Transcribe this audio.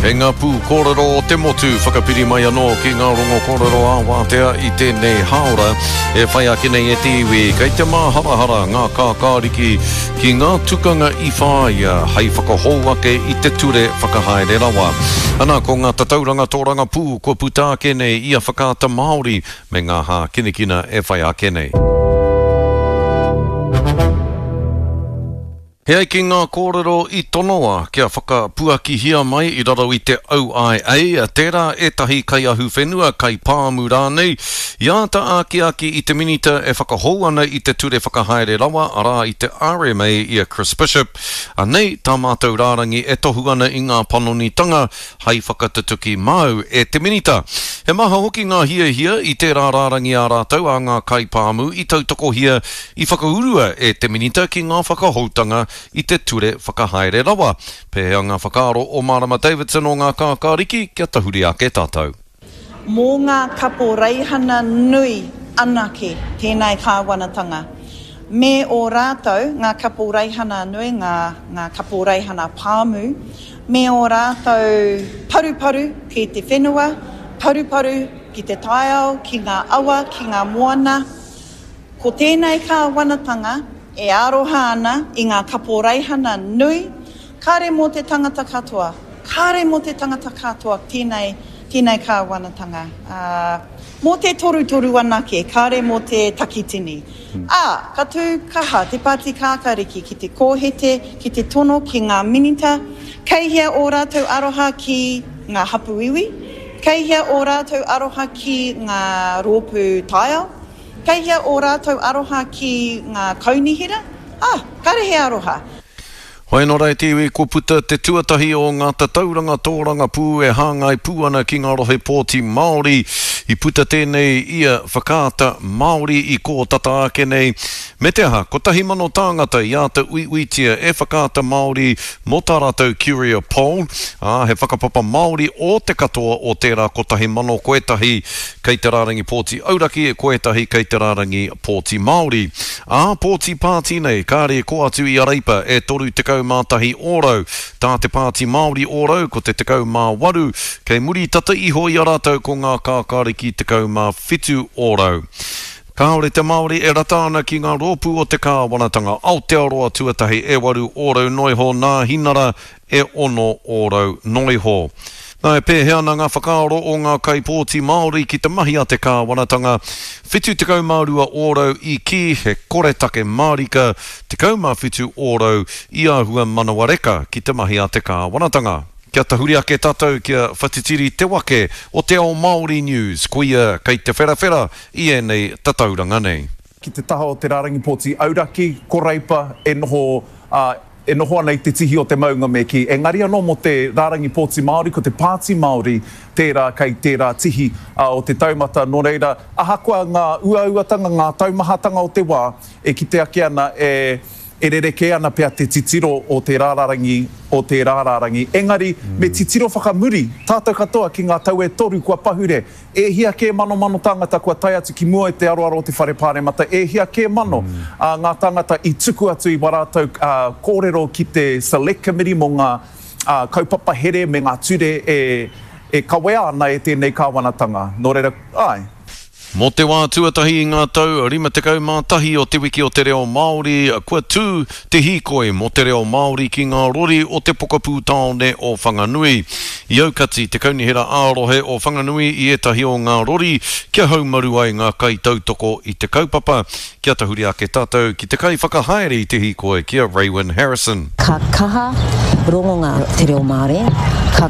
Kei ngā pū kōrero o te motu whakapiri mai anō ki ngā rongo kōrero ā-wātea i tēnei hāora e whai ake nei e te iwi. Kei te māharahara ngā kākāriki ki ngā tukanga i whāia hei whakahou ake i te ture whakahaere rawa. Ana, ko ngā tatauranga tōrangapū kua puta ake nei i a Whakaata Māori me ngā hākinakina e whai ake nei. E ai ki ngā kōrero i tonoa kia whakapuakihia mai i raro i te OIA, tērā ētahi kaiahuwhenua, kaipāmu rānei, i āta akiaki i te Minita e whakahou ana i te Ture Whakahaere Rawa, arā i te RMA i a Chris Bishop. Anei tā mātou rārangi e tohu ana i ngā panonitanga hai whakatutuki māu e te Minita. He maha hoki ngā hiahia i tērā rārangi ā rātou a ngā kaipāmu i tautokohia i whakaurua e te Minita ki ngā whakahoutanga i te Ture Whakahaere Rawa. Pēhea ngā whakaaro o Marama Davidson o Ngā Kākāriki kia tahuri ake tātou? Mō ngā kaporeihana nui anake tēnei kāwanatanga. Me ō rātou, ngā kaporeihana nui, ngā, ngā kaporeihana pāmu, me ō rātou paruparu ki te whenua, paruparu ki te taiao, ki ngā awa, ki ngā moana. Ko tēnei kāwanatanga e aroha ana i ngā kaporeihana nui, kāre mō te tangata katoa, kāre mō te tangata katoa tēnei, tēnei kāwanatanga, ā, mō te torutoru anake, kāre mō te takitini. Ā, ka tū kaha te Pāti Kākāriki ki te kōhete, ki te tono ki ngā minita, kei hea ō rātou aroha ki ngā hapū iwi, kei hea ō rātou aroha ki ngā rōpū taiao, Kei hea ō rātou aroha ki ngā kaunihera? Ah, kare he aroha. Hoi anō rā e te iwi, kua puta te tuatahi o ngā tatauranga tōrangapū e hāngai pū ana ki ngā rohe pōti Māori. I puta tēnei i a Whakaata Māori i kō tata ake nei. Me te aha, 1,000 tāngata i āta uiuitia e Whakaata Māori mō tā rātou Curia Poll, ā, he whakapapa Māori ō te katoa o tērā 1,000 ko ētahi Kei te rārangi pōti auraki, ko ētahi kei te rārangi pōti Māori. Ā pōti pāti nei, kāre i kō atu i a Reipa e 31 ōrau. Tā te Pāti Māori ōrau, ko te 18, kei muri tata iho i a rātou ko ngā kākāriki 17 ōrau. Kāore te Māori e rata ana ki ngā rōpū o te kāwanatanga Aotearoa tuatahi e waru ōrau noiho nā Hinara e 6% noa iho. Nā, e pēhea ana ngā whakaaro o ngā kaipōti Māori ki te mahi a te kāwanatanga? 72 ōrau i kī he koretake mārika, 17 ōrau i āhua manawa reka ki te mahi a te kāwanatanga. Kia tahuri ake tātou kia whatitiri te wake o Te Ao Māori News, koia kei te wherawhera i ēnei tatauranga nei. Ki te taha o te rārangi pōti auraki, ko Reipa e noho e noho ana i te tihi o te maunga me kī. Engari anō mō te rārangi pōti Māori, ko te Pāti Māori tērā kei tērā tihi o te taumata. Nō reira, ahakoa ngā uauatanga, ngā taumahatanga o te wā, e kite ake ana e, e rerekē ana pea te titiro o tērā rārangi, o tērā rārangi. Engari, me titiro whakamuri tātou katoa ki ngā tau e toru kua pahure, E hia kē manomano tāngata kua tae atu ki mua i te aroaro o te Whare Pāremata, e hia kē mano ngā tāngata i tuku atu i wā rātou kōrero ki te Select Committee mō ngā kaupapa here me ngā ture e kawea ana e tēnei kāwanatanga. Nō reira, āe. Mō te wā tuatahi i ngā tau 51 o Te Wiki o te Reo Māori, kua tū te hīkoi mō te reo Māori ki ngā rori o te pokapū tāone o Whanganui. I aukati te Kaunihera ā-Rohe o Whanganui i ētahi o ngā rori kia haumaru ai ngā kaitautoko i te kaupapa. Kia tahuri ake tātou ki te kaiwhakahaere i te hīkoi ki a Raewyn Harrison. Ka kaha rongonga te reo Māori, ka.